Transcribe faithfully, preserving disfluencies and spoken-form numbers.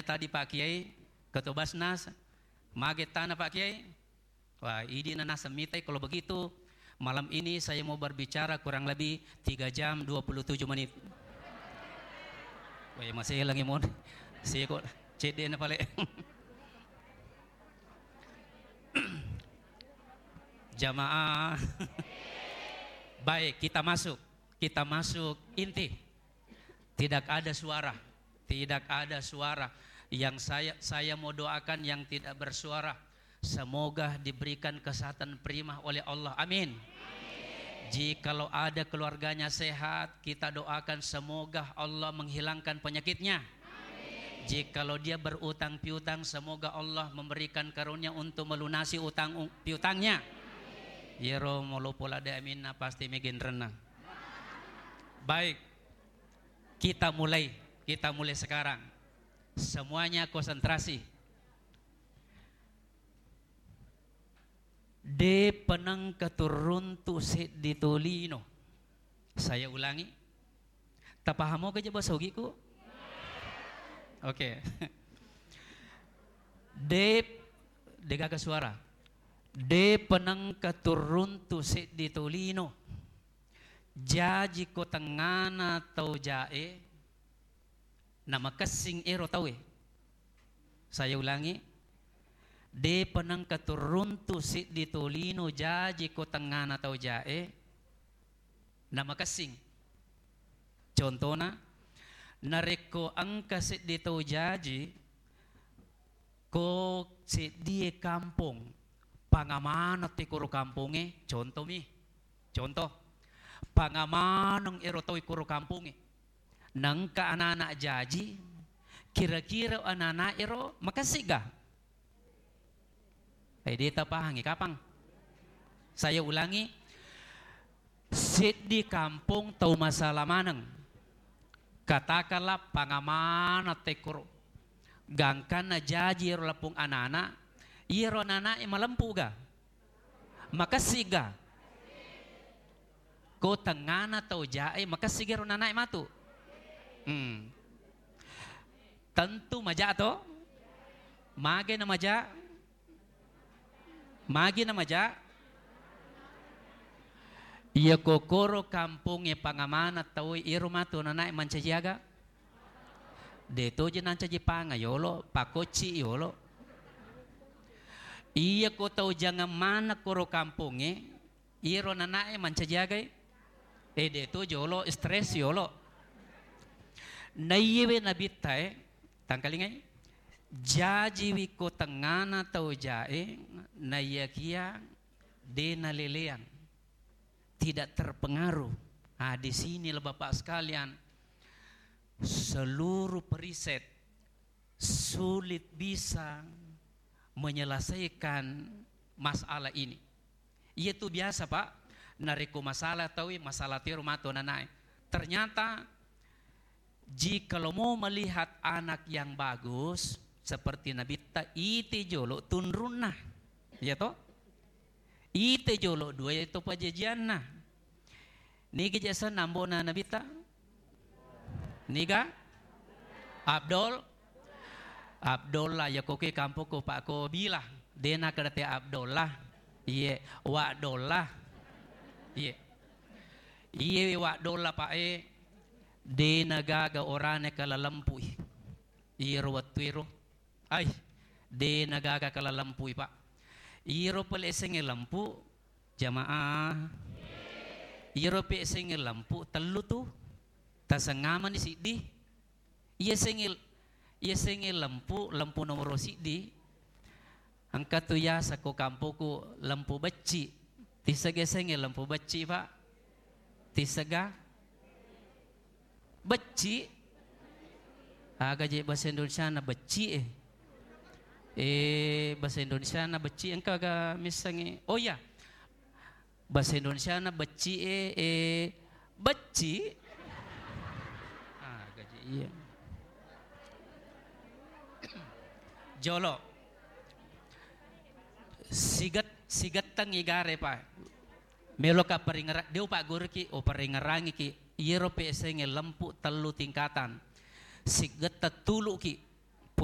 tadi Pak Kiai, Ketua Basnas, mage tana Pak Kiai? Wah, idi na naseng mitai, kalau begitu malam ini saya mau berbicara kurang lebih tiga jam dua puluh tujuh menit. Wah, masih lagi mon. Siko, cedde na pale. Jamaah. Baik, kita masuk. Kita masuk inti. Tidak ada suara. Tidak ada suara. Yang saya, saya mau doakan yang tidak bersuara, semoga diberikan kesehatan prima oleh Allah. Amin. Jikalau ada keluarganya sehat, kita doakan semoga Allah menghilangkan penyakitnya. Jikalau dia berutang piutang, semoga Allah memberikan karunia untuk melunasi utang u-, piutangnya. Yero molopo lade aminna pasti megenrenna. Baik, kita mulai, kita mulai sekarang. Semuanya konsentrasi. De penengka turuntu seddi tolino. Saya ulangi. Tapahamo ke jaba sogiku? Oke. De, degaga suara. De penengka turuntu seddi tolino. Jaji ko tengngana tau jae, namakessing ero tauwe. Saya ulangi, depa nengka turuntu siddi tolino jaji ko tengngana tau jae, namakessing. Contona, narekko engka seddi tau jaji, ko seddie kampong, pangamaneng te koro kampongnge, contomi, contoh, pangamaneng ero tau koro kampongnge, nengka anak-anak jaji, kira-kira anak-anak ero makessing ga? Eh, de tapahangi kapang? Saya ulangi, seddi kampong tau masala maneng. Katakanlah pangamaneng tekkoro. Gangkanna jaji ero lapong anana, iyaro anana e malempu ga? Makessing ga? Ko tengngana tau jae, makessing ga ero anana e matu? Hmm. Tentu maja to? Mage na maja? Magi na maja? Iya kokoro kampongnge pangamana tau iyaro matu nanae mancaji aga? De toje nancaji panga yolo, pakocci yolo. Iya ko tau jangang mana koro kampongnge, iyaro nanae mancaji agai? E de to jolo, stres yolo. Naiyewe nabitta e, tangkalingai, jajiwi ko tengngana tau jae, naiyakia de naleleang, tidak terpengaruh. Ah, di sinilah Bapak sekalian, seluruh periset sulit bisa menyelesaikan masalah ini. Iya tu biasa, Pak, narekko masalah taui, masalah tero matu nanae. Ternyata jikalau mau melihat anak yang bagus seperti Nabitta, ite jolo tunrunna. Iya to? Ite jolo dua itu pajajianna. Nigi je asenna ambo'na Nabitta? Niga? Abdul? Abdullah, ya koke kampokku Pak ko Bila. Dena kada te Abdullah. Iye, Wa Dolla. Iye. Iye Wa Dolla, Pak e. Dena gaga orane kala lempui. Iyaro wettu ero. Ai, de nagaga kala lempui, Pak. Iyaro pale esengnge lempu, jamaah. Iyaro pe esengnge lempu, tellu tu. Tasengngamani siddi. Iya sengnge, iya sengnge lempu, lempu nomoro siddi. Engka tu yaseng ko kampoku lempu becci. Tisega esengnge lempu becci, Pak? Tisega? Becci? Aga je bahasa Indonesiana becci e? Eh, bahasa Indonesiana becci engka ga missengngi? Oh iya. Bahasa Indonesiana becci e, eh, becci? Aga je iya. Jolo. Siget-, sigettengngi gare, Pak. Meloka paringera-, de upagguruki, uparingerangiki, iyaro pesengnge lempu tellu tingkatan. Sigetta tuluki,